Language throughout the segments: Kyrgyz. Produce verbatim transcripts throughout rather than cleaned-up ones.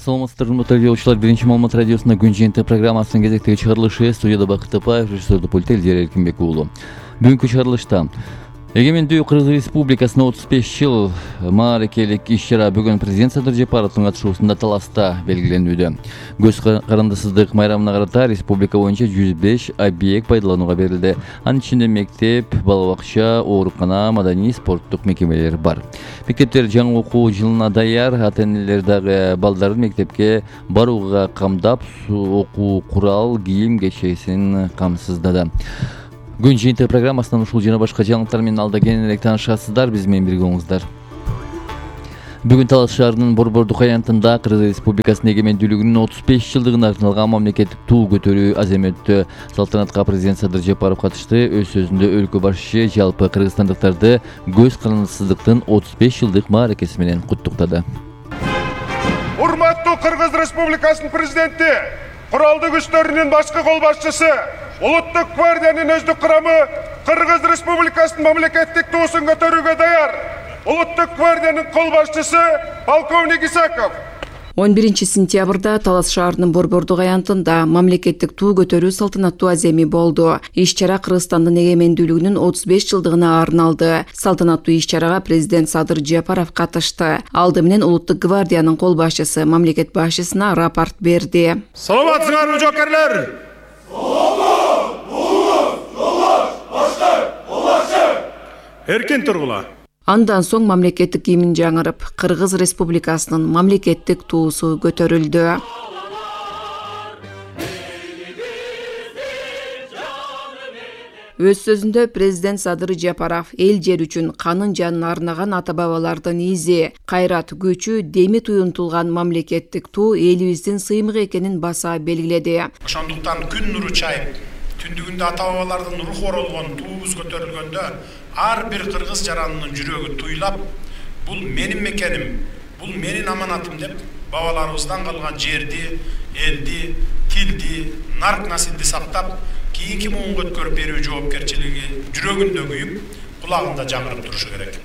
саламатсыздарбы урматтуу радиочулар. Биринчи Маалымат радиосунда күн жыйынтыгы программасынын кезектеги чыгарылышы. Студияда Бакыт Тапаев, режиссердүү пульт Элдер Эркинбек уулу. Бүгүнкү чыгарылышта эгемендүү Кыргыз Республикасынын отуз беш жыл мааракелик иш-чара бүгүн президент Садыр Жапаровдун катышуусунда Таласта белгиленүүдө. Көз карандысыздык майрамына карата республика боюнча жүз беш объект пайдаланууга берилди. Анын ичинде мектеп, бала бакча, оорукана, маданий, спорттук мекемелер бар. Мектептер жаңы окуу жылына даяр, ата-энелер дагы балдарын мектепке барууга камдап, окуу курал, кийим кечесин камсыздады. Күн жыйынтыгы программасынан ушул жана башка жаңылыктар менен алда кененирээк таанышасыздар. Биз менен бирге болуңуздар. Бүгүн Талас шаарынын Борбордук аянтында Кыргыз Республикасынын эгемендүүлүгүнүн отуз беш жылдыгына арналган мамлекеттик туу көтөрүү азем өттү. Салтанатка президент Садыр Жапаров катышты. Өз сөзүндө өлкө башчы жалпы кыргызстандыктарды көз карандысыздыктын отуз беш жылдык мааракеси менен куттуктады. Урматтуу Кыргыз Республикасынын президенти, куралдуу күчтөрүнүн башкы кол башчысы, Улуттук гвардиянын өздүк курамы Кыргыз Республикасынын мамлекеттик туусун көтөрүүгө даяр. Улуттук гвардиянын кол башчысы полковник Исаков. он биринчи сентябрда Талас шаарынын Борбордук аянтында мамлекеттик туу көтөрүү салтанаттуу аземи болду. Иш-чара Кыргызстандын эгемендүүлүгүнүн отуз беш жылдыгына арналды. Салтанаттуу иш-чарага президент Садыр Жапаров катышты. Алды менен Улуттук гвардиянын кол башчысы мамлекет башчысына рапорт берди. Саламатсыңарбы жокерлер? Эркин тургула. Андан соң мамлекеттик гимн жаңырып, Кыргыз Республикасынын мамлекеттик туусу көтөрүлдү. Өз сөзүндө президент Садыр Жапаров эл жер үчүн канын жанын арнаган ата-бабалардын изи, кайрат, күчү, деми туюнтулган мамлекеттик туу элибиздин сыймыгы экенин баса белгиледи. Ошондуктан күн нуру чайып, түндүгүндө ата-бабалардын руху оролгон туубуз көтөрүлгөндө ар бир кыргыз жаранынын жүрөгү туйлап, бул менин мекеним, бул менин аманатым деп бабаларыбыздан калган жерди, элди, тилди, нарк насилди сактап, кийинки муунга өткөрүп берүү жоопкерчилиги жүрөгүндө күйүп, кулагында жаңырып турушу керек.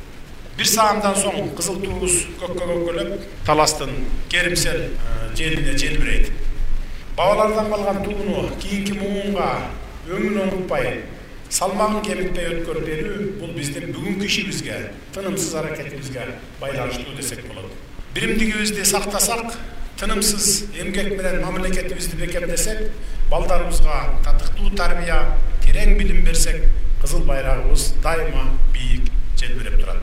Бир саамдан соң кызыл туубуз көккө көккөлөп, Таластын керимсел желине желбирейт. Бабалардан калган тууну кийинки муунга өңүн оңутпай, салмагын кемитпей өткөрүп берүү бул биздин бүгүнкү ишибизге, тынымсыз аракетибизге байланыштуу десек болот. Биримдигибизди сактасак, тынымсыз эмгек менен мамлекетибизди бекемдесек, балдарыбызга татыктуу тарбия, терең билим берсек, кызыл байрагыбыз дайыма бийик желбиреп турат.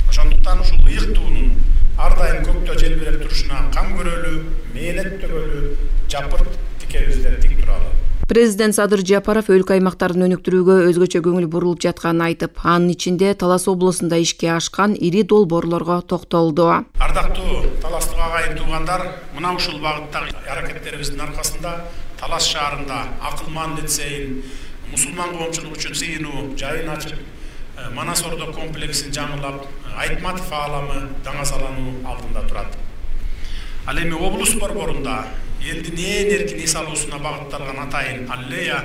Ошондуктан ушул ыйык туунун ар дайым көктө желбиреп турушуна кам көрөлү, мээнет төгөлү, жапырт тикебизден тик туралы. Президент Садыр Жапаров өлкө аймактарын өнүктүрүүгө өзгөчө көңүл бурулуп жатканын айтып, анын ичинде Талас облусунда ишке ашкан ири долбоорлорго токтолду. Ардактуу таластык агайын туугандар, мына ушул багыттагы аракеттерибиздин аркасында Талас шаарында акылман лицейин, мусулман коомчулук үчүн сыйынуу жайын ачып, Манас Ордо комплексин жаңылап, Айтматов ааламы даңазалануу алдында турат. Ал эми облус борборунда элдин ээн эркин эс алуусуна багытталган атайын аллея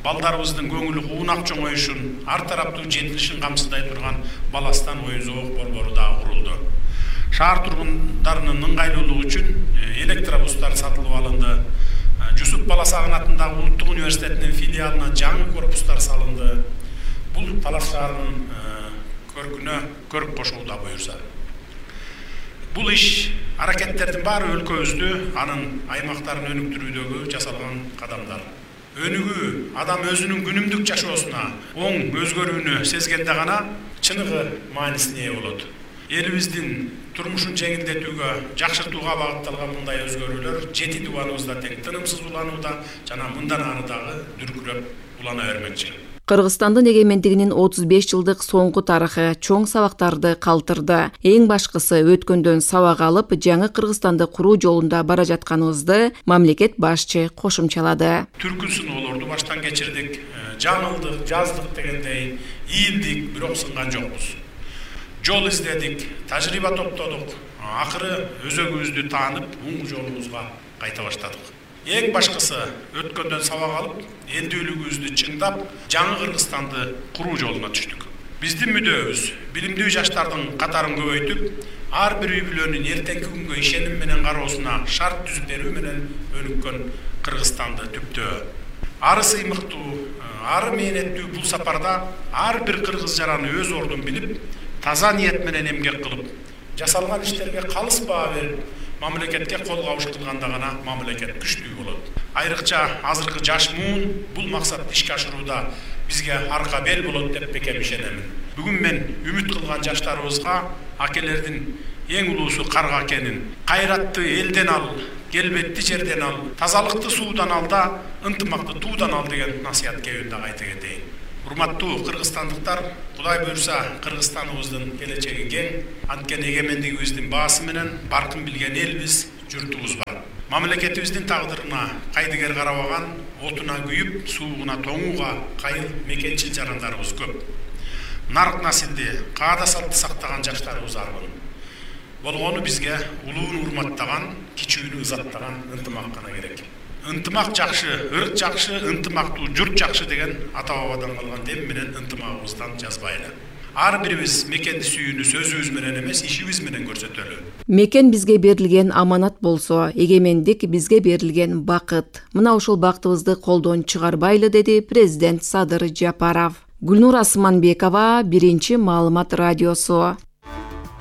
балдарыбыздын көңүлү куунак чоңоюшун, ар тараптуу жетилишин камсыздай турган Баластан оюн зоок борбору да курулду. Шаар тургундарынын ыңгайлуулугу үчүн электробустар сатылып алынды. Жусуп Баласагын атындагы Улуттук университетинин филиалына жаңы корпустар салынды. Бул Талас шаарынын көркүнө көрүп кошууда буюрса. Бул иш аракеттердин баары өлкөбүздү, анын аймактарын өнүктүрүүдөгү жасалган кадамдар. Өнүгүү адам өзүнүн күнүмдүк жашоосуна оң өзгөрүүнү сезгенде гана чыныгы маанисине ээ болот. Элибиздин турмушун жеңилдетүүгө, жакшыртууга багытталган мындай өзгөрүүлөр жети дубаныбызда тең тынымсыз уланууда жана мындан ары дагы дүркүрөп улана бермекчи. Кыргызстандын эгемендигинин отуз беш жылдык соңку тарыхы чоң сабактарды калтырды. Эң башкысы өткөндөн сабак алып, жаңы Кыргызстанды куруу жолунда бара жатканыбызды мамлекет башчы кошумчалады. Түркүсүн олорду баштан кечирдик, жаңылдык, жаздык дегендей ийилдик, бирок сынган жокпуз. Жол издедик, тажрыйба топтодук, акыры өзөгүбүздү таанып, оң жолубузга кайта баштадык. Эң башкысы өткөндөн сабак алып, элдүүлүгүбүздү чыңдап, жаңы Кыргызстанды куруу жолуна түштүк. Биздин мүдөөбүз билимдүү жаштардын катарын көбөйтүп, ар бир үй бүлөнүн эртеңки күнгө ишеним менен кароосуна шарт түзүп берүү менен өнүккөн Кыргызстанды түптөө. Ары сыймыктуу, ары мээнеттүү бул сапарда ар бир кыргыз жараны өз ордун билип, таза ниет менен эмгек кылып, жасалган иштерге калыс баа берип, мамлекетке кол кабыш кылганда гана мамлекет күчтүү болот. Айрыкча азыркы жаш муун бул максатты ишке ашырууда бизге арка бел болот деп бекем ишенемин. Бүгүн мен үмүт кылган жаштарыбызга акелердин эң улуусу карга экенин, кайратты элден ал, келбетти жерден ал, тазалыкты суудан ал да, ынтымакты туудан ал деген насаят кебин да айта кетейин. Урматтуу кыргызстандыктар, Кудай буйрса Кыргызстаныбыздын келечеги кең, анткени эгемендигибиздин баасы менен баркын билген элбиз, журтубуз бар. Мамлекетибиздин тагдырына кайдыгер карабаган, отуна күйүп, суугуна тоңууга кайыл мекенчил жарандарыбыз көп. Нарк насилди, каада салтты сактаган жаштарыбыз арбын. Болгону бизге улууну урматтаган, кичүүнү ызаттаган ынтымак гана керек. Ынтымак жакшы, ырк жакшы, ынтымактуу журт жакшы деген ата бабадан калган дем менен ынтымагыбыздан жазбайлы. Ар бирибиз мекенди сүйүүнү сөзүбүз менен эмес, ишибиз менен көрсөтөлү. Мекен бизге берилген аманат болсо, эгемендик бизге берилген бакыт. Мына ушул бактыбызды колдон чыгарбайлы, деди президент Садыр Жапаров. Гүлнур Асманбекова, Биринчи маалымат радиосу.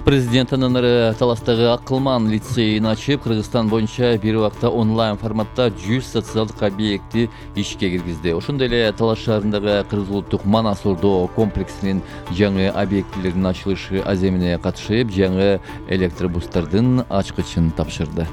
Президент анын Таластагы Акылман лицейин ачып, Кыргызстан боюнча бир убакта онлайн форматта жүз социалдык объекти ишке киргизди. Ошондой эле Талас шаарындагы Кыргыз улуттук Манас Ордо комплексинин жаңы объектилеринин ачылышы аземине катышып, жаңы электробустардын ачкычын тапшырды.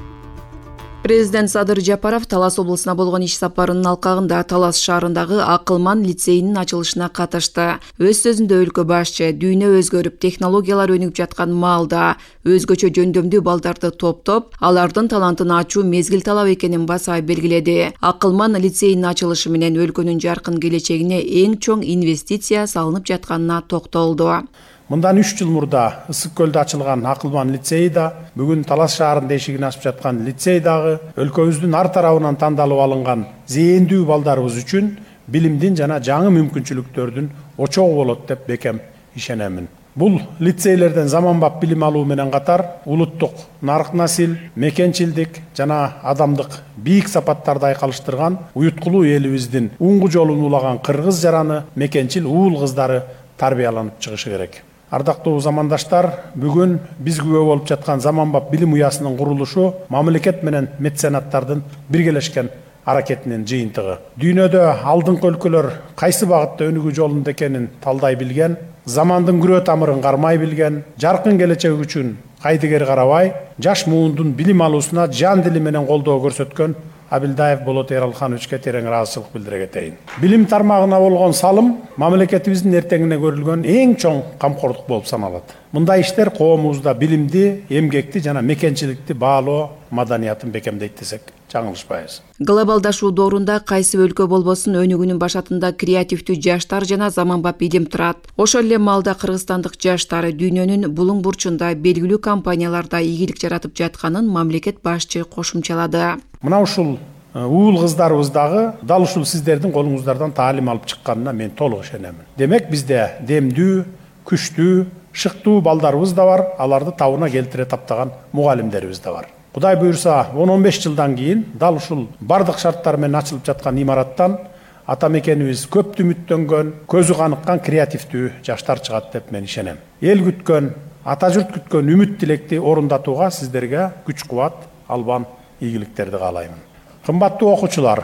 Президент Садыр Жапаров Талас облусуна болгон иш сапарынын алкагында Талас шаарындагы Акылман лицейинин ачылышына катышты. Өз сөзүндө өлкө башчы дүйнө өзгөрүп, технологиялар өнүгүп жаткан маалда өзгөчө жөндөмдүү балдарды топтоп, алардын талантын ачуу мезгил талап экенин баса белгиледи. Акылман лицейинин ачылышы менен өлкөнүн жаркын келечегине эң чоң инвестиция салынып жатканына токтолду. Мындан үч жыл мурда Ысык көлдө ачылган Акылман лицейи да, бүгүн Талас шаарында эшигин ачып жаткан лицей дагы өлкөбүздүн ар тарабынан тандалып алынган зээндүү балдарыбыз үчүн билимдин жана жаңы мүмкүнчүлүктөрдүн очогу болот деп бекем ишенемин. Бул лицейлерден заманбап билим алуу менен катар улуттук нарк насил, мекенчилдик жана адамдык бийик сапаттарды айкалыштырган уюткулуу элибиздин уңгу жолун улаган кыргыз жараны, мекенчил уул кыздары тарбияланып чыгышы керек. Ардактуу замандаштар, бүгүн биз күбө болуп жаткан заманбап билим уясынын курулушу мамлекет менен меценаттардын биргелешкен аракетинин жыйынтыгы. Дүйнөдө алдыңкы өлкөлөр кайсы багытта өнүгүү жолунда экенин талдай билген, замандын күрөө тамырын кармай билген, жаркын келечек үчүн кайдыгер карабай, жаш муундун билим алуусуна жан дили менен колдоо көрсөткөн Абилдаев Болот Эралхановичке терең ыраазычылык билдире кетейин. Билим тармагына болгон салым мамлекетибиздин эртеңине көрүлгөн эң чоң камкордук болуп саналат. Мындай иштер коомубузда билимди, эмгекти жана мекенчиликти баалоо маданиятын бекемдейт десек жаңылышпайбыз. Глобалдашуу доорунда кайсы өлкө болбосун өнүгүүнүн башатында креативдүү жаштар жана заманбап илим турат. Ошол эле маалда кыргызстандык жаштар дүйнөнүн булуң бурчунда белгилүү компанияларда ийгилик жаратып жатканын мамлекет башчы кошумчалады. Мына ушул уул кыздарыбыз дагы дал ушул сиздердин колуңуздардан таалим алып чыкканына мен толук ишенемин. Демек бизде демдүү, күчтүү, шыктуу балдарыбыз да бар, аларды табына келтире таптаган мугалимдерибиз да бар. Кудай буйрса он он беш жылдан кийин дал ушул бардык шарттар менен ачылып жаткан имараттан ата мекенибиз көптү үмүттөнгөн, көзү каныккан креативдүү жаштар чыгат деп мен ишенем. Эл күткөн, ата журт күткөн үмүт тилекти орундатууга сиздерге күч кубат, албан ийгиликтерди каалаймын. Кымбаттуу окуучулар,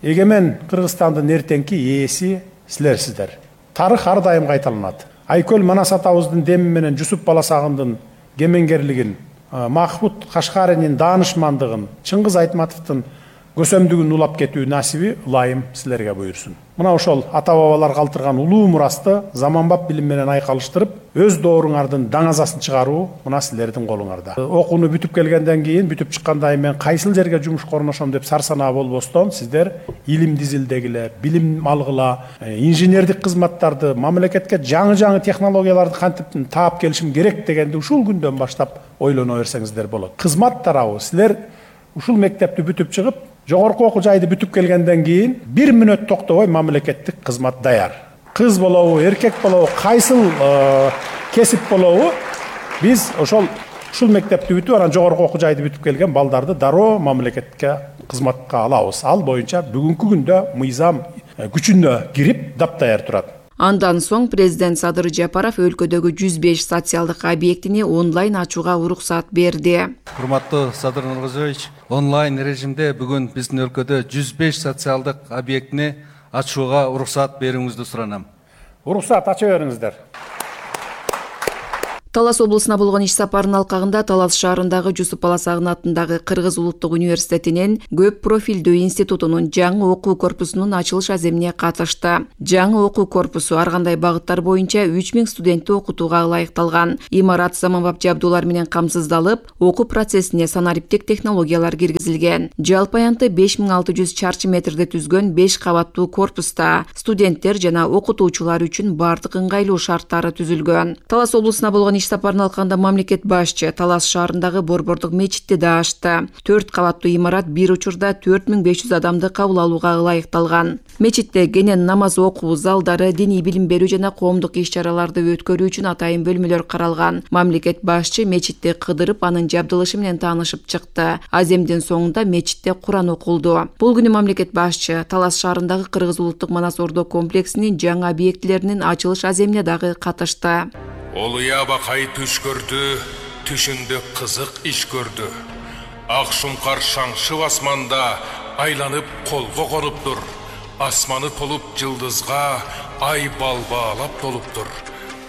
эгемен Кыргызстандын эртеңки ээси силерсиздер. Тарых ар дайым кайталанат. Айкөл Манас атабыздын деми менен Жусуп Баласагындын кемеңгерлигин, Махмуд Кашкаринин даанышмандыгын, Чыңгыз Айтматовдун көсөмдүгүн улап кетүү насиби ылайым силерге буйрсун. Мына ошол ата бабалар калтырган улуу мурасты заманбап билим менен айкалыштырып, өз дооруңардын даңазасын чыгаруу мына силердин колуңарда. Окууну бүтүп келгенден кийин, бүтүп чыккандай мен кайсыл жерге жумушка орношом деп сарсанаа болбостон, сиздер илим дизилдегиле, билим алгыла, инженердик кызматтарды, мамлекетке жаңы-жаңы технологияларды кантип таап келишим керек дегенди ушул күндөн баштап ойлоно берсеңиздер болот. Кызмат тарабы силер ушул мектепти бүтүп чыгып, жогорку окуу жайды бүтүп келгенден кийин бир мүнөт токтобой мамлекеттик кызмат даяр. Кыз болобу, эркек болобу, кайсыл кесип болобу, биз ошол ушул мектепти бүтүп анан жогорку окуу жайды бүтүп келген балдарды дароо мамлекетке кызматка алабыз. Ал боюнча бүгүнкү күндө мыйзам күчүнө кирип таптаяр турат. Андан соң президент Садыр Жапаров өлкөдөгү жүз беш социалдык объектини онлайн ачууга уруксат берди. Урматтуу Садыр Нуркожоевич, онлайн режимде бүгүн биздин өлкөдө жүз беш социалдык объектини ачууга уруксат берүүңүздү суранам. Уруксат ача бериңиздер. Талас облусуна болгон иш сапарынын алкагында Талас шаарындагы Жусуп Баласагын атындагы Кыргыз улуттук университетинин көп профилдүү институтунун жаңы окуу корпусунун ачылыш аземине катышты. Жаңы окуу корпусу ар кандай багыттар боюнча үч миң студентти окутууга ылайыкталган. Имарат заманбап жабдуулар менен камсыздалып, окуу процессине санариптик технологиялар киргизилген. Жалпы аянты беш миң алты жүз чарчы метрде түзгөн беш кабаттуу корпуста студенттер жана окутуучулар үчүн бардык ыңгайлуу шарттары түзүлгөн. Талас облусуна болгон сапарын алканда мамлекет башчы Талас шаарындагы Борбордук мечитти да ачты. төрт кабаттуу имарат бир учурда төрт миң беш жүз адамды кабыл алууга ылайыкталган. Мечитте кенен намаз окуу залдары, диний билим берүү жана коомдук иш-чараларды өткөрүү үчүн атайын бөлмөлөр каралган. Мамлекет башчы мечитти кыдырып, анын жабдылышы менен таанышып чыкты. Аземдин соңунда мечитте Куран окулду. Бул күнү мамлекет башчы Талас шаарындагы Кыргыз улуттук Манас Ордо комплексинин жаңы объектилеринин ачылыш аземине дагы катышты. Олуя бакай түш көрдү, түшүндө кызык иш көрдү. Ак шумкар шаңшып асманда айланып колго конуптур. Асманы толуп жылдызга, ай балбаалап толуптур.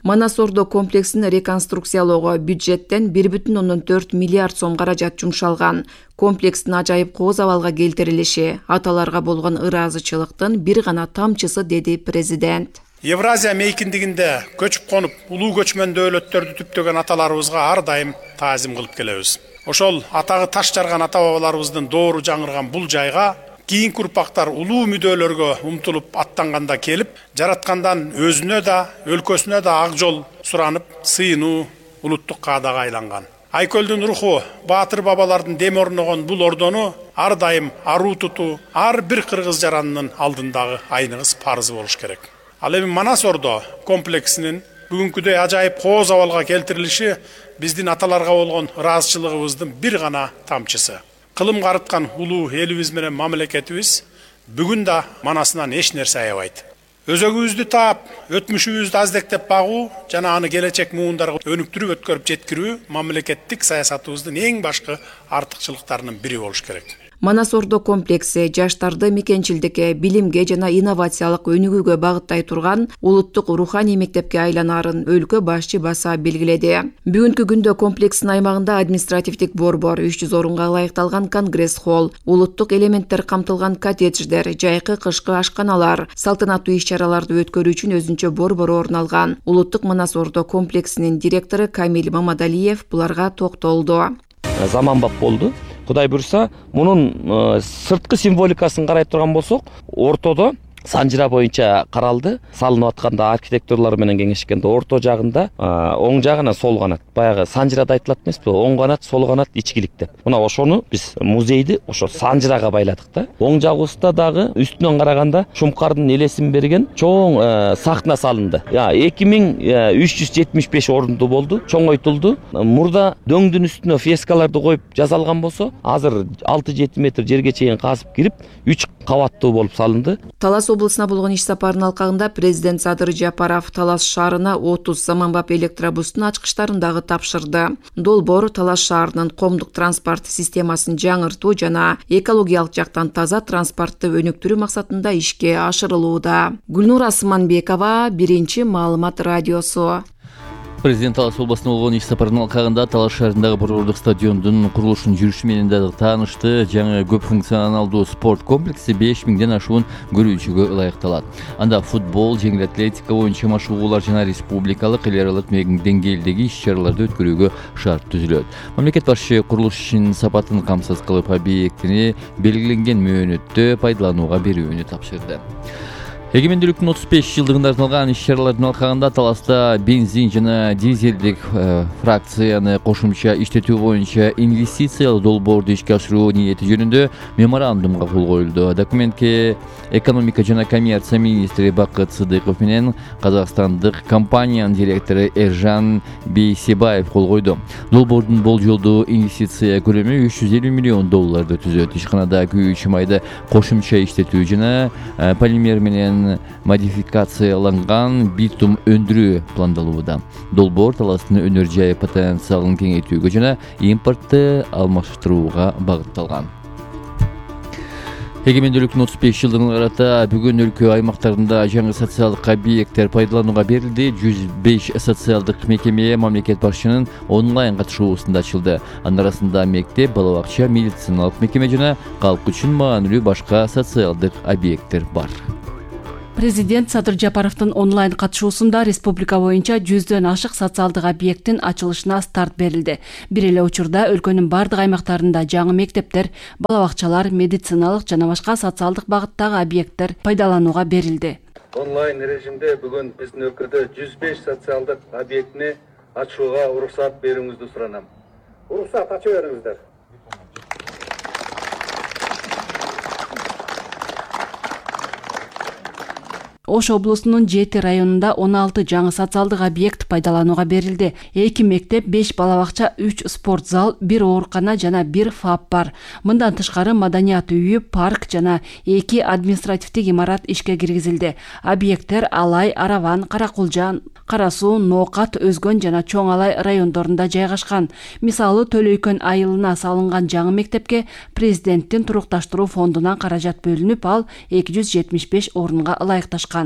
Манас Ордо комплексин реконструкциялоого бюджеттен бир бүтүн ондон төрт миллиард сом каражат жумшалган. Комплекстин ажайып кооз абалга келтирилиши аталарга болгон ыраазычылыктын бир гана тамчысы, деди президент. Евразия мейкиндигинде көчүп конуп, улуу көчмөн өлөттөрдү түптөгөн аталарыбызга ар дайым таазим кылып келебиз. Ошол атагы таш жарган ата бабаларыбыздын доору жаңырган бул жайга кийинки урпактар улуу мүдөлөргө умтулуп аттанганда келип, жараткандан өзүнө да, өлкөсүнө да ак жол суранып, сыйынуу улуттук каадага айланган. Айкөлдүн руху, баатыр бабалардын деми орногон бул ордону ар дайым аруу тутуу ар бир кыргыз жаранынын алдындагы айныңыз парызы болуш керек. Ал эми Манас Ордо комплексинин бүгүнкүдөй ажайып кооз абалга келтирилиши биздин аталарга болгон ыраазычылыгыбыздын бир гана тамчысы. Кылым карыткан улуу элибиз менен мамлекетибиз бүгүн да манасынан эч нерсе аябайт. Өзөгүбүздү таап, өтмүшүбүздү аздектеп багуу жана аны келечек муундарга өнүктүрүп өткөрүп жеткирүү мамлекеттик саясатыбыздын эң башкы артыкчылыктарынын бири болуш керек. Манас Ордо комплекси жаштарды мекенчилдикке, билимге жана инновациялык өнүгүүгө багыттай турган улуттук руханий мектепке айланарын өлкө башчы баса белгиледи. Бүгүнкү күндө комплекстин аймагында административдик борбор, үч жүз орунга ылайыкталган конгресс холл, улуттук элементтер камтылган коттедждер, жайкы кышкы ашканалар, салтанаттуу иш-чараларды өткөрүү үчүн өзүнчө борбор орун алган. Улуттук Манас Ордо комплексинин директору Камил Мамадалиев буларга токтолду. Заманбап болду. Кудай буйрса, мунун сырткы символикасын карай турган болсок, ортодо санжыра боюнча каралды. Салынып атканда архитекторлор менен кеңешкенде орто жагында оң жагына сол канат. Баягы санжырада айтылат эмеспи? Оң канат, сол канат ичкилик деп. Мына ошону биз музейди ошо санжырага байладык да. Оң жагыбызда дагы үстүнөн караганда Шумкардын элесин берген чоң сахна салынды. Я эки миң үч жүз жетимиш беш орунду болду, чоңойтулду. Мурда дөңдүн үстүнө фрескаларды коюп жасалган болсо, азыр алты жети метр жерге чейин казып кирип, үч кабаттуу болуп салынды. Талас облусуна болгон иш сапарынын алкагында президент Садыр Жапаров Талас шаарына отуз заманбап электробустун ачкычтарын дагы тапшырды. Долбоор Талас шаарынын коомдук транспорт системасын жаңыртуу жана экологиялык жактан таза транспортты өнүктүрүү максатында ишке ашырылууда. Гүлнур Асманбекова, Биринчи маалымат радиосу. Президент Талас областына болгон иш сапарынын алкагында Талас шаарындагы борбордук стадиондун курулушунун жүрүшү менен дагы таанышты. Жаңы көп функционалдуу спорт комплекси беш миңден ашуун көрүүчүгө ылайыкталат. Анда футбол, жеңил атлетика боюнча машыгуулар жана республикалык, эл аралык деңгээлдеги иш-чараларды өткөрүүгө шарт түзүлөт. Мамлекет башчы курулуш ишинин сапатын камсыз кылып, объектини белгиленген мөөнөттө пайдаланууга берүүнү тапшырды. Эгемендүүлүктүн отуз беш жылдыгына арналган иш-чаралардын алкагында Таласта бензин жана дизелдик э, фракцияны кошумча иштетүү боюнча инвестициялык долбоорду ишке ашыруу ниети жөнүндө меморандумга кол коюлду. Документке экономика жана коммерция министри Бакыт Сыдыков менен казакстандык компаниянын директору Эржан Бейсебаев кол койду. Долбоордун болжолдуу инвестиция көлөмү үч жүз элүү миллион долларды түзөт. Ишканада күйүүчү майды кошумча иштетүү жана э, полимер менен модификацияланган битум өндүрүү пландалууда. Долбоор Таластын өнөр жай потенциалын кеңейтүүгө жана импортты алмаштырууга багытталган. Эгемендүүлүктүн отуз беш жылдыгына карата бүгүн өлкө аймактарында жаңы социалдык объекттер пайдаланууга берилди. жүз беш социалдык мекеме мамлекет башчынын онлайн катышуусунда ачылды. Анын арасында мектеп, бала бакча, медициналык мекеме жана калк үчүн маанилүү башка социалдык объекттер бар. Президент Садыр Жапаровдун онлайн катышуусунда республика боюнча жүздөн ашык социалдык объекттин ачылышына старт берилди. Бир эле учурда өлкөнүн бардык аймактарында жаңы мектептер, бала бакчалар, медициналык жана башка социалдык багыттагы объекттер пайдаланууга берилди. Онлайн режимде бүгүн биздин өлкөдө жүз беш социалдык объектини ачууга уруксат берүүңүздү суранам. Уруксат ачып бериңиздер. Ош облусунун жети районунда он алты жаңы социалдык объект пайдаланууга берилди. эки мектеп, беш бала бакча, үч спорт зал, бир оорукана жана бир ФАП бар. Мындан тышкары маданият үйү, парк жана эки административдик имарат ишке киргизилди. Объекттер Алай, Араван, Каракулжан, Кара Суу, Ноокат, Өзгөн жана Чоң Алай райондорунда жайгашкан. Мисалы, Төлөйкөн айылына салынган жаңы мектепке президенттин турукташтыруу фондунан каражат бөлүнүп, ал эки жүз жетимиш беш орунга ылайыкташкан.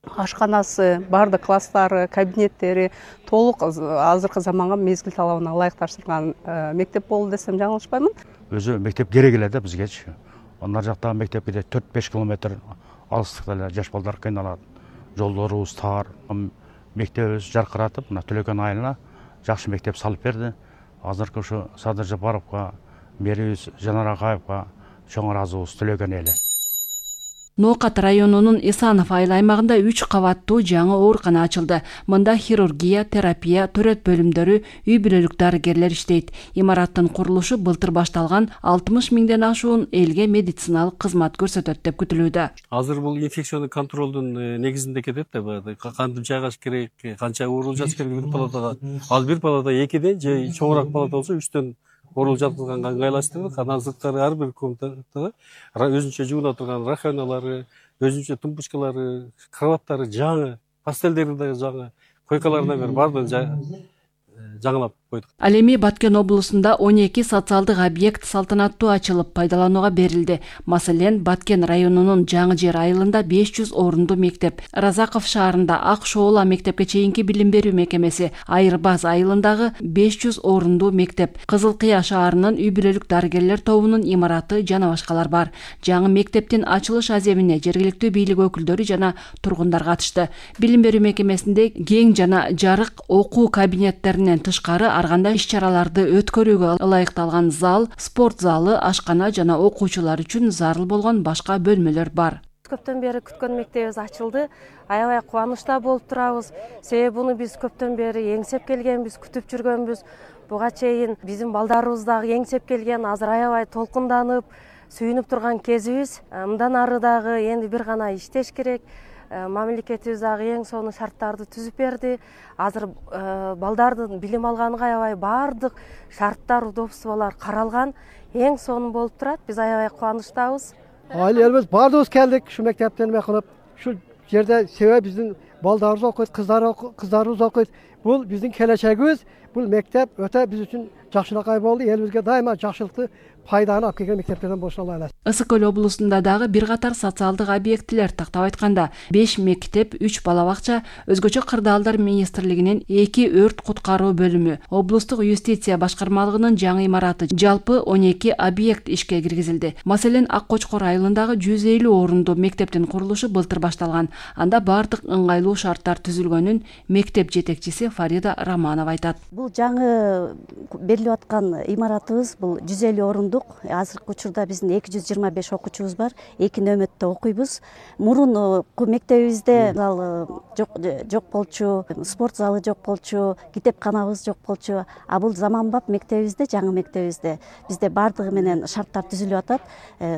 Ашканасы, бардык класстары, кабинеттери толук азыркы заманга мезгил талабына ылайыкташтырылган мектеп болду десем жаңылышпаймын. Өзү мектеп керек эле да бизгечи. Андан жактагы мектепке төрт беш километр алыстыкта эле жаш балдар кыйналат. Жолдорубуз тар, мектебибиз жаркыратып, мына Төлөкөн айылына жакшы мектеп салып берди. Азыркы ушу Садыр Жапаровго, мэрибиз Жанар Акаевга чоң ыраазыбыз Төлөкөн эли. Ноокат районунун Исанов айыл аймагында үч кабаттуу жаңы оорукана ачылды. Мында хирургия, терапия, төрөт бөлүмдөрү, үй бүлөлүк дарыгерлер иштейт. Имараттын курулушу былтыр башталган, алтымыш миңден ашуун элге медициналык кызмат көрсөтөт деп күтүлүүдө. Азыр бул инфекционный контролдун негизинде кетет да, баягы кантип жайгаш керек, канча уурулуп жатыш керек бир палатага. Ал бир палата экиден же чоңураак палата болсо үчтөн орул жаткызганга ыңгайлаштырдык. Анан сырткары ар бир комнатада өзүнчө жууна турган раханалары, өзүнчө тумбучкалары, кроваттары жаңы, пастелдери да жаңы, койкаларына бер баардыгын жаңылап койдук. Ал эми Баткен облусунда он эки социалдык объект салтанаттуу ачылып пайдаланууга берилди. Маселен, Баткен районунун Жаңы Жер айылында беш жүз орунду мектеп, Разаков шаарында Ак Шоола мектепке чейинки билим берүү мекемеси, Айырбаз айылындагы беш жүз орунду мектеп, Кызыл Кыя шаарынын үй бүлөлүк дарыгерлер тобунун имараты жана башкалар бар. Жаңы мектептин ачылыш аземине жергиликтүү бийлик өкүлдөрү жана тургундар катышты. Билим берүү мекемесинде кең жана жарык окуу кабинеттеринен тышкары ар кандай иш-чараларды өткөрүүгө ылайыкталган зал, спорт залы, ашкана жана окуучулар үчүн зарыл болгон башка бөлмөлөр бар. Көптөн бери күткөн мектебибиз ачылды. Аябай кубанычта болуп турабыз. Себеби буну биз көптөн бери эңсеп келгенбиз, күтүп жүргөнбүз. Буга чейин биздин балдарыбыз дагы эңсеп келген, азыр аябай толкунданып, сүйүнүп турган кезибиз. Мындан ары дагы энди бир гана иштеш керек. Мамлекетибиз дагы эң сонун шарттарды түзүп берди. Азыр балдардын билим алганга аябай баардык шарттар, удобстволор каралган. Эң сонун болуп турат. Биз аябай кубанычтабыз. Айыл элибиз баардыгыбыз келдик, ушу мектептен эме кылып, ушу жерде себеби биздин балдарыбыз окуйт, кыздарыбыз окуйт. Бул биздин келечегибиз. Бул мектеп өтө биз үчүн жакшылыкка болду. Элибизге дайыма жакшылыкты пайданы алып келген мектептерден болушуна алайлайбыз. Ысык көл облусунда дагы бир катар социалдык объектилер, тактап айтканда беш мектеп, үч бала бакча, өзгөчө кырдаалдар министрлигинин эки өрт куткаруу бөлүмү, облустук юстиция башкармалыгынын жаңы имараты, жалпы он эки объект ишке киргизилди. Маселен, Ак Кочкор айылындагы жүз элүү орунду мектептин курулушу былтыр башталган. Анда баардык ыңгайлуу шарттар түзүлгөнүн мектеп жетекчиси Фарида Романова айтат. Бул жаңы берилип аткан имаратыбыз бул жүз элүү орундук. Азыркы учурда биздин эки жүз жыйырма беш окуучубуз бар, эки нөмөттө окуйбуз. Мурун мектебибизде зал жок жок болчу, спорт залы жок болчу, китепканабыз жок болчу. А бул заманбап мектебибизде, жаңы мектебибизде бизде бардыгы менен шарттар түзүлүп атат.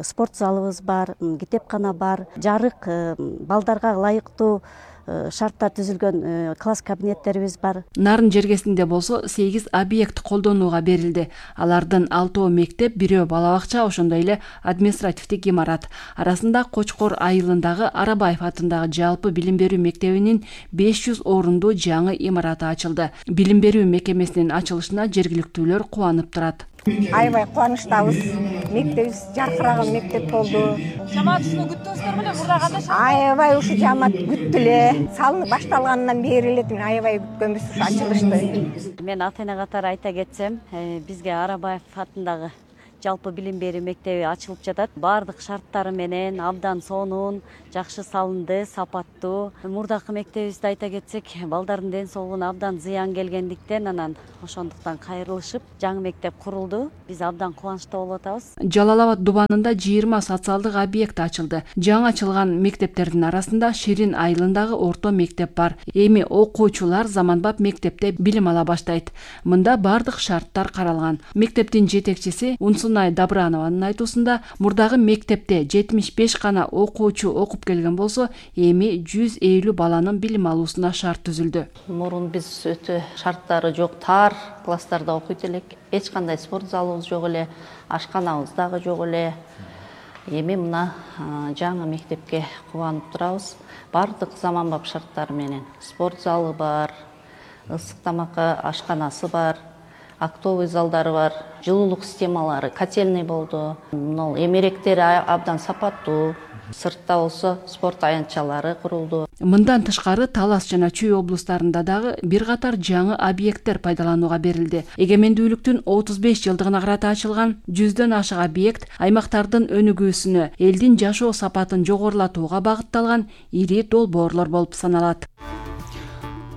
Спорт залыбыз бар, китепкана бар, жарык, балдарга ылайыктуу шарттар түзүлгөн класс кабинеттерибиз бар. Нарын жергесинде болсо сегиз объект колдонууга берилди. Алардын алтоо мектеп, бирөө бала бакча, ошондой эле административдик имарат. Арасында Кочкор айылындагы Арабаев атындагы жалпы билим берүү мектебинин беш жүз орунду жаңы имараты ачылды. Билим берүү мекемесинин ачылышына жергиликтүүлөр кубанып турат. Аябай кубанычтабыз. Мектебибиз жаркыраган мектеп болду. Жамаат ушуну күттүңүздөр беле? Мурда кандай? Аябай ушу жамаат күттү эле. Салынып башталгандан бери эле аябай күткөнбүз ушу ачылышты. Мен ата эне катары айта кетсем, бизге Арабаев атындагы жалпы билим берүү мектеби ачылып жатат. Бардык шарттары менен абдан сонун, жакшы салынды, сапаттуу. Мурдакы мектебибизди айта кетсек, балдардын ден соолугуна абдан зыян келгендиктен, анан ошондуктан кайрылышып, жаңы мектеп курулду. Биз абдан кубанычтуу болуп атабыз. Жалал Абад дубанында жыйырма социалдык объект ачылды. Жаңы ачылган мектептердин арасында Ширин айылындагы орто мектеп бар. Эми окуучулар заманбап мектепте билим ала баштайт. Мында бардык шарттар каралган. Мектептин жетекчиси Унсунай Добранованын айтуусунда, мурдагы мектепте жетимиш беш гана окуучу окуп келген болсо, эми жүз элүү баланын билим алуусуна шарт түзүлдү. Мурун биз өтө шарттары жок, тар класстарда окуйт элек. Эч кандай спорт залыбыз жок эле, ашканабыз дагы жок эле. Эми мына жаңы мектепке кубанып турабыз. Бардык заманбап шарттар менен. Спорт залы бар, ысык тамакка ашканасы бар, актовый залдары бар, жылуулук системалары, котельный болду. Мына эмеректери абдан сапаттуу. Сыртта болсо спорт аянтчалары курулду. Мындан тышкары Талас жана Чүй облустарында дагы бир катар жаңы объекттер пайдаланууга берилди. Эгемендүүлүктүн отуз беш жылдыгына карата ачылган жүздөн ашык объект аймактардын өнүгүүсүнө, элдин жашоо сапатын жогорулатууга багытталган ири долбоорлор болуп саналат.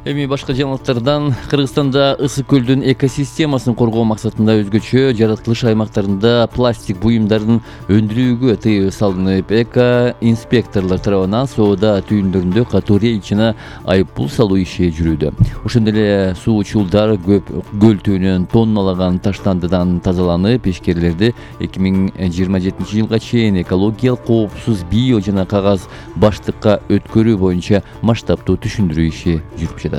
Эми башка жаңылыктардан Кыргызстанда ысык көлдүн экосистемасын коргоо максатында өзгөчө жаратылыш аймактарында пластик буюмдарын өндүрүүгө тыюу салынып, эко инспекторлор тарабынан соода түйүндөрүндө катуу рейд жана айыппул салуу иши жүрүүдө. Ошондой эле суучулдар көл түбүнөн тонналаган таштандыдан тазаланып, ишкерлерди эки миң жыйырма жетинчи жылга чейин экологиялык коопсуз био жана кагаз баштыкка өткөрүү боюнча масштабтуу түшүндүрүү иши жүрүп жатат.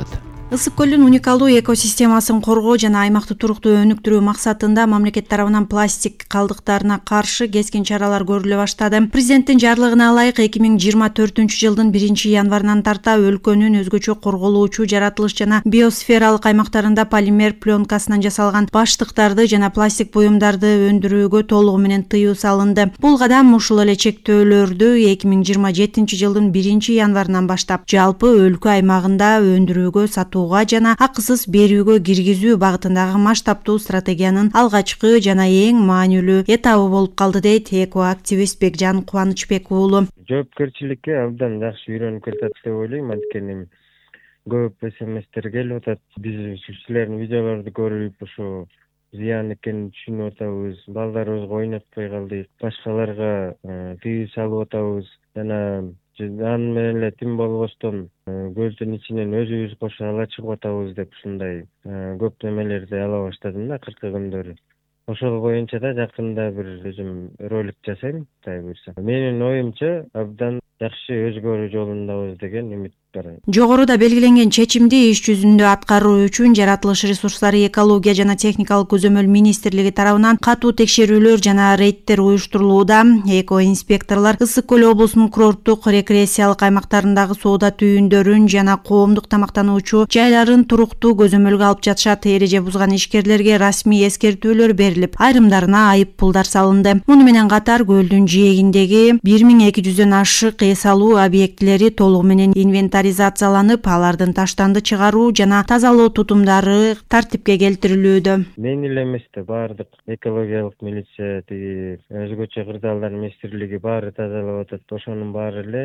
Ысык көлдүн уникалдуу экосистемасын коргоо жана аймакты туруктуу өнүктүрүү максатында мамлекет тарабынан пластик калдыктарына каршы кескин чаралар көрүлө баштады. Президенттин жарлыгына ылайык эки миң жыйырма төртүнчү жылдын биринчи январынан тарта өлкөнүн өзгөчө корголуучу жаратылыш жана биосфералык аймактарында полимер пленкасынан жасалган баштыктарды жана пластик буюмдарды өндүрүүгө толугу менен тыюу салынды. Бул кадам ушул эле чектөөлөрдү эки миң жыйырма жетинчи жылдын биринчи январынан баштап жалпы өлкө аймагында өндүрүүгө, сатуу жана акысыз берүүгө киргизүү багытындагы масштабтуу стратегиянын алгачкы жана эң маанилүү этабы болуп калды, дейт экоактивист Бекжан Кубанычбек уулу. Жоопкерчиликке абдан жакшы үйрөнүп келатат деп ойлойм, анткени көп смстер келип атат. Биз силердин видеолорду көрүп ушу зыян экенин түшүнүп атабыз. Балдарыбызга ойнотпой калдык, башкаларга тыюу салып атабыз жана аны менен эле тим болбостон көлдүн ичинен өзүбүз кошо ала чыгып атабыз деп ушундай көп немелерди ала баштадым да акыркы күндөрү. Ошол боюнча да жакында бир өзүм ролик жасайм, Кудай буйрса. Менин оюмча абдан жакшы өзгөрүү жолундабыз деген үмүт бар. Жогоруда белгиленген чечимди иш жүзүндө аткаруу үчүн жаратылыш ресурстары, экология жана техникалык көзөмөл министрлиги тарабынан катуу текшерүүлөр жана рейдтер уюштурулууда. Эко инспекторлор Ысык көл облусунун курорттук рекреациялык аймактарындагы соода түйүндөрүн жана коомдук тамактануучу жайларын туруктуу көзөмөлгө алып жатышат. Эреже бузган ишкерлерге расмий эскертүүлөр берилип, айрымдарына айып пулдар салынды. Муну менен катар көлдүн жээгиндеги бир миң эки жүздөн ашык эс алуу объектилери толугу менен инвентаризацияланып, алардын таштанды чыгаруу жана тазалоо тутумдары тартипке келтирилүүдө. Мен эле эмес да баардык экологиялык милиция, тиги өзгөчө кырдаалдар министрлиги баары тазалап атат. Ошонун баары эле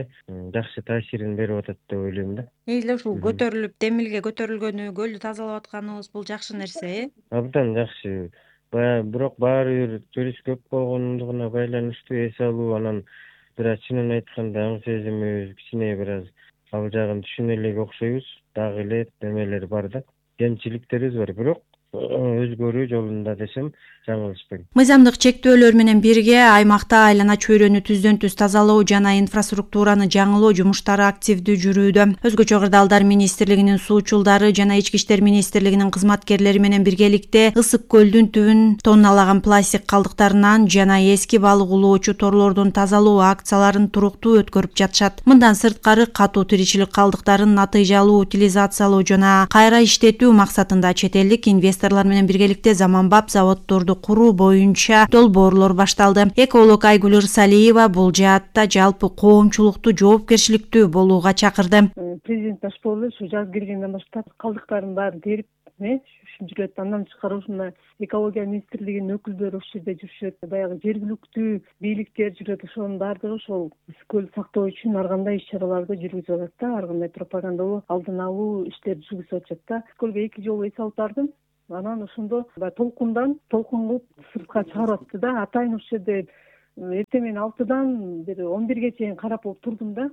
жакшы таасирин берип атат деп ойлойм да. Эле ушул көтөрүлүп, демилге көтөрүлгөнү, көлдү тазалап атканыбыз бул жакшы нерсе, э? Абдан жакшы. бирок баары бир турист көп болгондугуна байланыштуу эс алуу, анан бир аз чынын айтканда аң сезимибиз кичине бир аз ал жагын түшүнө элек окшойбуз. Дагы эле немелер бар да, кемчиликтерибиз бар, бирок өзгөрүү жолунда десем жаңылышпайм. Мыйзамдык чектөөлөр менен бирге аймакта айлана чөйрөнү түздөн түз тазалоо жана инфраструктураны жаңылоо жумуштары активдүү жүрүүдө. Өзгөчө Кырдаалдар министрлигинин суучулдары жана Ички иштер министрлигинин кызматкерлери менен биргеликте Ысык көлдүн түбүн тонналаган пластик калдыктарынан жана эски балык улоочу торлордун тазалоо акцияларын туруктуу өткөрүп жатышат. Мындан сырткары катуу тиричилик калдыктарын натыйжалуу утилизациялоо жана кайра иштетүү максатында чет элдик инвесторлор менен биргеликте заманбап заводдорду куруу боюнча долбоорлор башталды. Эколог Айгүл Ырсалиева бул жаатта жалпы коомчулукту жоопкерчиликтүү болууга чакырды. Президент Ташполу ушу жаз киргенден баштап калдыктардын баарын терип жүрөт. Андан тышкары ушундай экология министрлигинин өкүлдөрү ушул жерде жүрүшөт. Баягы жергиликтүү бийликтер жүрөт. Ошонун баардыгы ошол көлдү сактоо үчүн ар кандай иш-чараларды жүргүзүп атат да, ар кандай пропагандалуу, алдын алуу иштерди жүргүзүп атышат да. Көлгө эки жолу эс алып бардым. Анан ошондо толкундан толкун кылып сыртка чыгарып атты да. Атайын ушул жерде эртең менен алтыдан бир он бирге чейин карап болуп турдум да.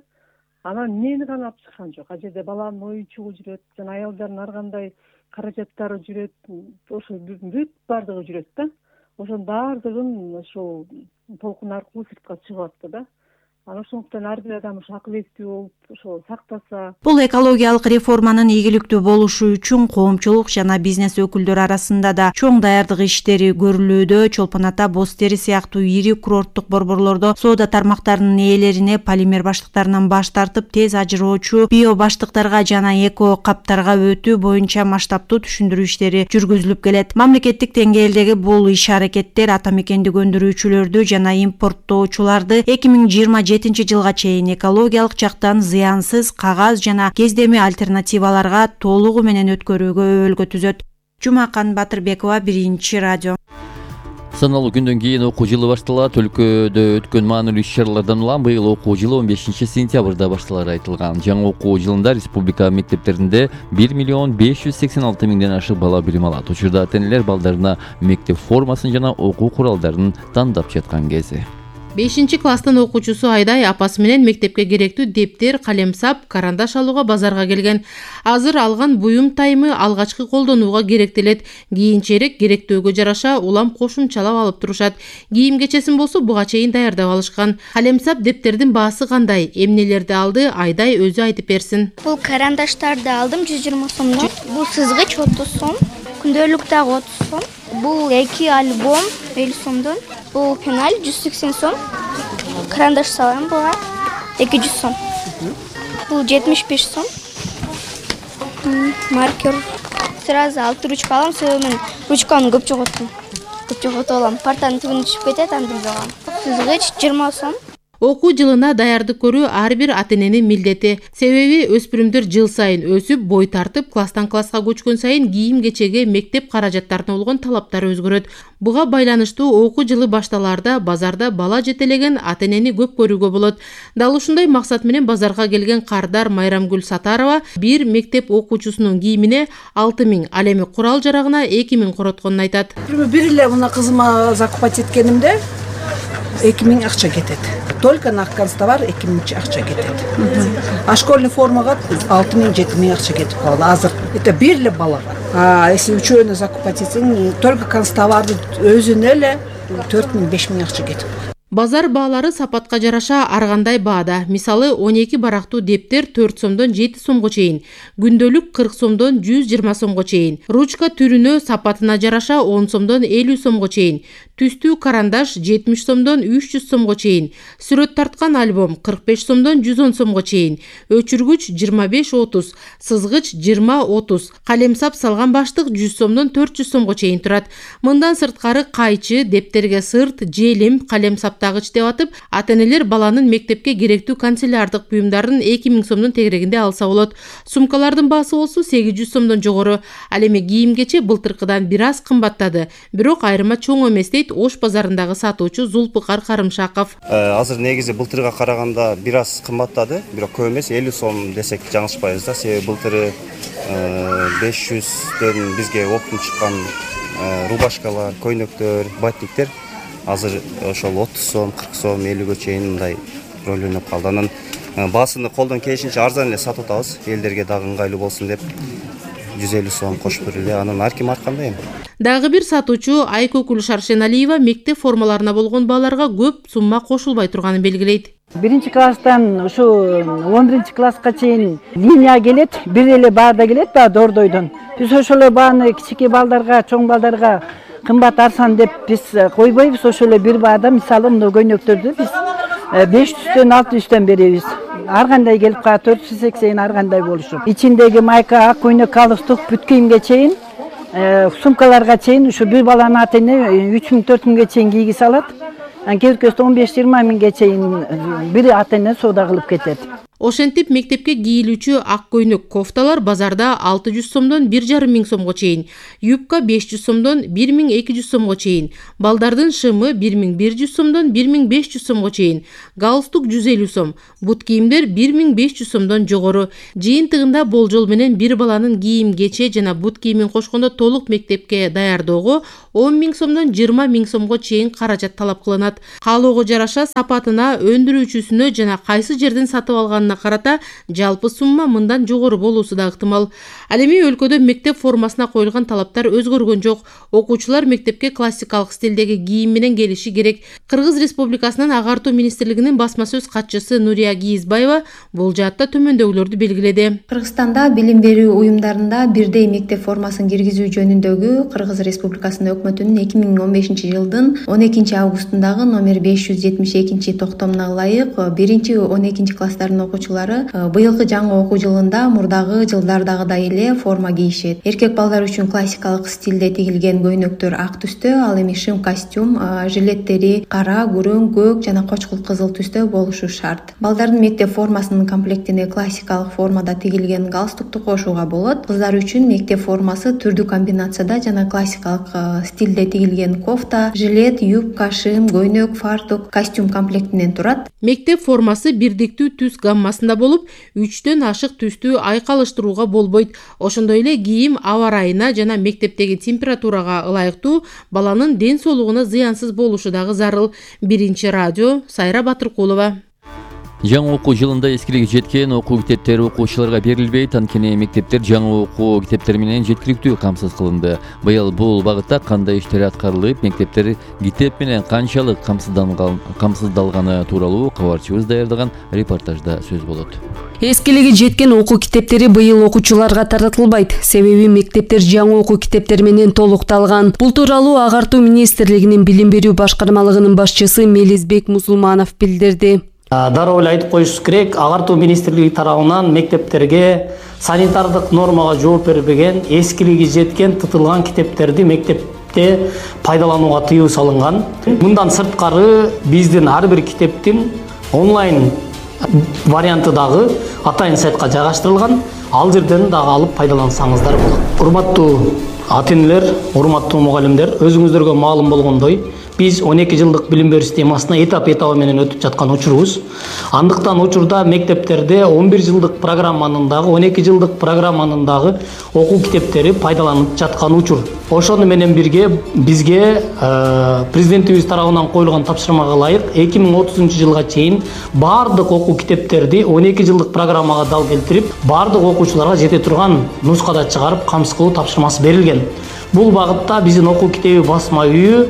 Анан эмнени гана алып чыккан жок. А жерде баланын оюнчугу жүрөт, жана аялдардын ар кандай каражаттары жүрөт, ошо бүт баардыгы жүрөт да. Ошонун баардыгын ошол толкун аркылуу сыртка чыгып атты да. Анан ошондуктан ар бир адам ошо акыл эстүү болуп, ошо сактаса. Бул экологиялык реформанын ийгиликтүү болушу үчүн коомчулук жана бизнес өкүлдөрү арасында да чоң даярдык иштери көрүлүүдө. Чолпон Ата, Боз Тери сыяктуу ири курорттук борборлордо соода тармактарынын ээлерине полимер баштыктарынан баш тартып, тез ажыроочу био баштыктарга жана эко каптарга өтүү боюнча масштабтуу түшүндүрүү иштери жүргүзүлүп келет. Мамлекеттик деңгээлдеги бул иш-аракеттер ата мекендик өндүрүүчүлөрдү жана импорттоочуларды эки миң жыйырма жетинчи жылга чейин экологиялык жактан зыянсыз кагаз жана кездеме альтернативаларга толугу менен өткөрүүгө өбөлгө түзөт. Жумакан Батырбекова, Биринчи радио. Саналуу күндөн кийин окуу жылы башталат. Өлкөдө өткөн маанилүү иш-чаралардан улам быйыл окуу жылы он бешинчи сентябрда башталары айтылган. Жаңы окуу жылында республика мектептеринде бир миллион беш жүз сексен алты миңден ашык бала билим алат. Учурда ата-энелер балдарына мектеп формасын жана окуу куралдарын тандап жаткан кези. бешинчи класстын окуучусу Айдай апасы менен мектепке керектүү дептер, калемсап, карандаш алууга базарга келген. Азыр алган буюм тайымы алгачкы колдонууга керектелет. Кийинчерээк керектөөгө жараша улам кошумчалап алып турушат. Кийим кечесин болсо буга чейин даярдап алышкан. Калемсап дептердин баасы кандай, эмнелерди алды, Айдай өзү айтып берсин. Бул карандаштарды алдым жүз жыйырма сомдон. Бул сызгыч отуз сом, күндөлүк дагы отуз сом. Бул эки альбом элүү сомдон. Бул пеналь жүз сексен сом. Карандаш салам буга эки жүз сом. Бул жетимиш беш сом. Маркер. Сразу алты ручка алам, себебі ручканы көп жоготтум. Көп жоготуп алам. Партанын түбүнө түшүп кетет, антип жогам. Сызгыч жыйырма сом. Окуу жылына даярдык көрүү ар бир ата-эненин милдети. Себеби өспүрүмдөр жыл сайын өсүп, бой тартып, класстан класска көчкөн сайын кийим кечеге, мектеп каражаттарына болгон талаптар өзгөрөт. Буга байланыштуу окуу жылы башталаарда базарда бала жетелеген ата-энени көп көрүүгө болот. Дал ушундай максат менен базарга келген Кардар Майрамгүл Сатарова бир мектеп окуучусунун кийимине алты миң, ал эми курал жарагына эки миң коротконун айтат. Бир эле мына кызыма закупать эткенимде эки миң акча кетет. Только на канцтовар эки миң акча кетет. А школьный формага алты миң жети миң акча кетип калды азыр. Это бир эле балага. А если үчөөнө закупать этсең, только канцтоварды өзүнө эле төрт миң беш миң акча кетип. Базар баалары сапатка жараша ар кандай баада. Мисалы он эки барактуу дептер төрт сомдон жети сомго чейин, күндөлүк кырк сомдон жүз жыйырма сомго чейин, ручка түрүнө сапатына жараша он сомдон элүү сомго чейин, түстүү карандаш жетимиш сомдон үч жүз сомго чейин, сүрөт тарткан альбом кырк беш сомдон жүз он сомго чейин, өчүргүч жыйырма беш отуз, сызгыч жыйырма отуз, калемсап салган баштык жүз сомдон төрт жүз сомго чейин турат. Мындан сырткары кайчы, дептерге сырт, желим, калемсап тагыч деп атып, ата-энелер баланын мектепке керектүү канцелярдык буюмдарын эки миң сомдун тегерегинде алса болот. Сумкалардын баасы болсо сегиз жүз сомдон жогору. Ал эми кийим кече былтыркыдан бир аз кымбаттады. Бирок айырма чоң эмес дейт Ош базарындагы сатуучу Зулпыкар Карымшаков. Азыр негизи былтырга караганда бир аз кымбаттады, бирок көп эмес, элүү сом десек жаңылышпайбыз да. Себеби былтыры беш жүздөн бизге оптум чыккан рубашкалар, көйнөктөр, батниктер азыр ошол отуз сом, кырк сом, элүүгө чейин мындай роль ойноп калды. Анан баасыны колдон келишинче арзан эле сатып атабыз, элдерге дагы ыңгайлуу болсун деп жүз элүү сом кошуп бериле. Анан ар ким ар кандай эми. Дагы бир сатуучу Айкөкүл Шаршеналиева мектеп формаларына болгон бааларга көп сумма кошулбай турганын белгилейт. Биринчи класстан ушу он биринчи класска чейин линия келет, бир эле баада келет да дордойдон. Биз ошол эле бааны кичике балдарга, чоң балдарга кымбат арзан деп биз койбойбуз. Ошол эле бир баада мисалы мына көйнөктөрдү биз беш жүздөн алты жүздөн беребиз. Ар кандай келип калат, төрт жүз сексен ар кандай болушу. Ичиндеги майка, ак көйнөк, галстук, бүт кийимге чейин, сумкаларга чейин ушу бир баланын ата эне үч миң төрт миңге чейин кийгизе алат. Кээ он беш жыйырма миңге чейин бир ата эне соода кылып кетет. Ошентип мектепке кийилүүчү ак көйнөк кофталар базарда алты жүз сомдон бир жарым миң сомго чейин, юбка беш жүз сомдон бир миң эки жүз сомго чейин, балдардын шымы бир миң бир жүз сомдон бир миң беш жүз сомго чейин, галстук жүз элүү сом, бут кийимдер бир миң беш жүз сомдон жогору. Жыйынтыгында болжол менен бир баланын кийим кече жана бут кийимин кошкондо толук мектепке даярдоого он миң сомдон жыйырма миң сомго чейин каражат талап кылынат. Каалоого жараша сапатына, өндүрүүчүсүнө жана кайсы жерден сатып алганына карата жалпы сумма мындан жогору болуусу да ыктымал. Ал эми өлкөдө мектеп формасына коюлган талаптар өзгөргөн жок. Окуучулар мектепке классикалык стилдеги кийим менен келиши керек. Кыргыз Республикасынын агартуу министрлигинин басма сөз катчысы Нурия Кийизбаева бул жаатта төмөндөгүлөрдү белгиледи. Кыргызстанда билим берүү уюмдарында бирдей мектеп формасын киргизүү жөнүндөгү Кыргыз Республикасынын өкмөтүнүн эки миң он бешинчи жылдын он экинчи августундагы номер беш жүз жетимиш экинчи токтомуна ылайык биринчи он экинчи класстардын окуучулары быйылкы жаңы окуу жылында мурдагы жылдардагыдай эле форма кийишет. Эркек балдар үчүн классикалык стилде тигилген көйнөктөр ак түстө, ал эми шым костюм, жилеттери кара, күрөң, көк жана кочкул кызыл түстө болушу шарт. Балдардын мектеп формасынын комплектине классикалык формада тигилген галстукту кошууга болот. Кыздар үчүн мектеп формасы түрдүү комбинацияда жана классикалык стилде тигилген кофта, жилет, юбка, шым, көйнөк, фартук, костюм комплектинен турат. Мектеп формасы бирдиктүү түс гаммасында болуп, үчтөн ашык түстү айкалыштырууга болбойт. Ошондой эле кийим аба ырайына жана мектептеги температурага ылайыктуу, баланын ден соолугуна зыянсыз болушу дагы зарыл. Биринчи радио, Сайра Батыркулова. Жаңы окуу жылында эскилиги жеткен окуу китептери окуучуларга берилбейт, анткени мектептер жаңы окуу китептери менен жеткиликтүү камсыз кылынды. Быйыл бул багытта кандай иштер аткарылып, мектептер китеп менен канчалык камсыздалганы тууралуу кабарчыбыз даярдаган репортажда сөз болот. Эскилиги жеткен окуу китептери быйыл окуучуларга таратылбайт. Себеби мектептер жаңы окуу китептер менен толукталган. Бул тууралуу Агартуу министрлигинин билим берүү башкармалыгынын башчысы Мелизбек Мусулманов билдирди. Дароо эле айтып коюш керек, Агартуу министрлиги тарабынан мектептерге санитардык нормага жооп бербеген, эскилиги жеткен тытылган китептерди мектепте пайдаланууга тыюу салынган. Мындан сырткары биздин ар бир китептин онлайн варианты дагы атайын сайтка жайгаштырылган. Ал жерден дагы алып пайдалансаңыздар болот. Урматтуу ата энелер, урматтуу мугалимдер, өзүңүздөргө маалым болгондой, биз он эки жылдык билим берүү системасына этап этабы менен өтүп жаткан учурубуз. Андыктан учурда мектептерде он бир жылдык программанын дагы, он эки жылдык программанын дагы окуу китептери пайдаланып жаткан учур. Ошону менен бирге бизге президентибиз тарабынан коюлган тапшырмага ылайык эки миң отузунчу жылга чейин баардык окуу китептерди он эки жылдык программага дал келтирип, баардык окуучуларга жете турган нускада чыгарып камсыз кылуу тапшырмасы берилген. Бул багытта биздин окуу китеби басма үйү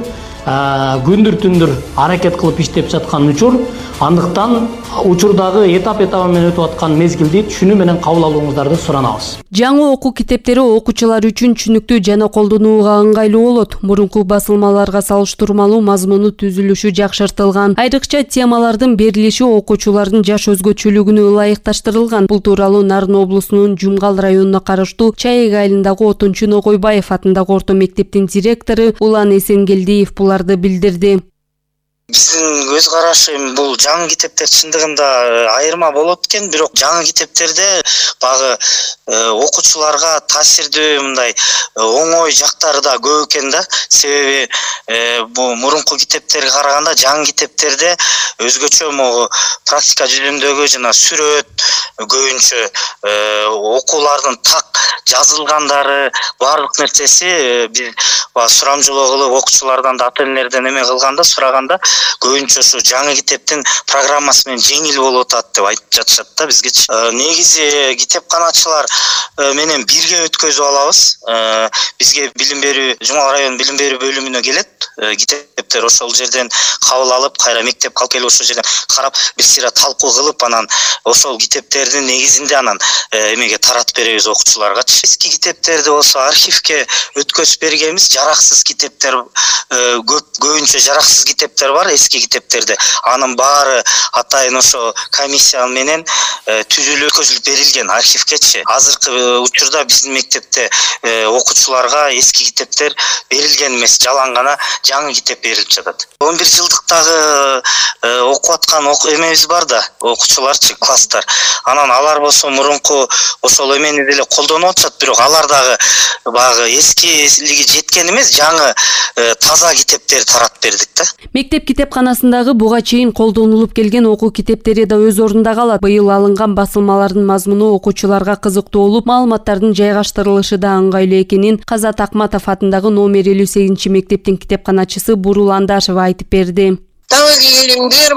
күндүр түндүр аракет кылып иштеп жаткан учур. Андыктан учурдагы этап этабы менен өтүп аткан мезгилди түшүнүү менен кабыл алууңуздарды суранабыз. Жаңы окуу китептери окуучулар үчүн түшүнүктүү жана колдонууга ыңгайлуу болот. Мурунку басылмаларга салыштырмалуу мазмуну түзүлүшү жакшыртылган. Айрыкча темалардын берилиши окуучулардын жаш өзгөчөлүгүнө ылайыкташтырылган. Бул тууралуу Нарын облусунун Жумгал районуна караштуу Чайык айылындагы Отунчу Ногойбаев атындагы орто мектептин директору Улан Эсенгелдиев буларды билдирди. Биздин көз карашым бул жаңы китептер чындыгында айырма болот экен, бирок жаңы китептерде багы окуучуларга таасирдүү мындай оңой жактары да көп экен да. Себеби бул мурунку китептерге караганда жаңы китептерде өзгөчө могу практика жүзүндөгү жана сүрөт көбүнчө окуулардын так жазылгандары баардык нерсеси биз сурамжылоо кылып окуучулардан да ата энелерден эме кылганда сураганда көбүнчө ушу жаңы китептин программасы менен жеңил болуп атат деп айтып жатышат да бизгечи. Негизи китепканачылар менен бирге өткөзүп алабыз. Бизге билим берүү Жумал район билим берүү бөлүмүнө келет китептер, ошол жерден кабыл алып, кайра мектепке алып келип ошол жерден карап, бир сыйра талкуу кылып, анан ошол китептердин негизинде анан эмеге таратып беребиз окуучуларгачы. Эски китептерди болсо архивке өткөзүп бергенбиз. Жараксыз китептер көп, көбүнчө жараксыз китептер бар эски китептерде. Анын баары атайын ошо комиссия менен түзүлүп өткөзүлүп берилген архивкечи. Азыркы учурда биздин мектепте окуучуларга эски китептер берилген эмес, жалаң гана жаңы китеп берилип жатат. он бир жылдыктагы окуп аткан эмебиз бар да, окуучуларчы, класстар. Анан алар болсо мурунку ошол эмени деле колдонуп атышат, бирок алар дагы багы эскилиги жеткен эмес, жаңы таза китептерди таратып бердик да. Мектеп китепканасындагы буга чейин колдонулуп келген окуу китептери да өз ордунда калат. Быйыл алынган басылмалардын мазмуну окуучуларга кызыктуу болуп, маалыматтардын жайгаштырылышы да ыңгайлуу экенин Казат Акматов атындагы номер элүү сегизинчи мектептин китепканачысы Бурул Андашева айтып берди. Табиғи илимдер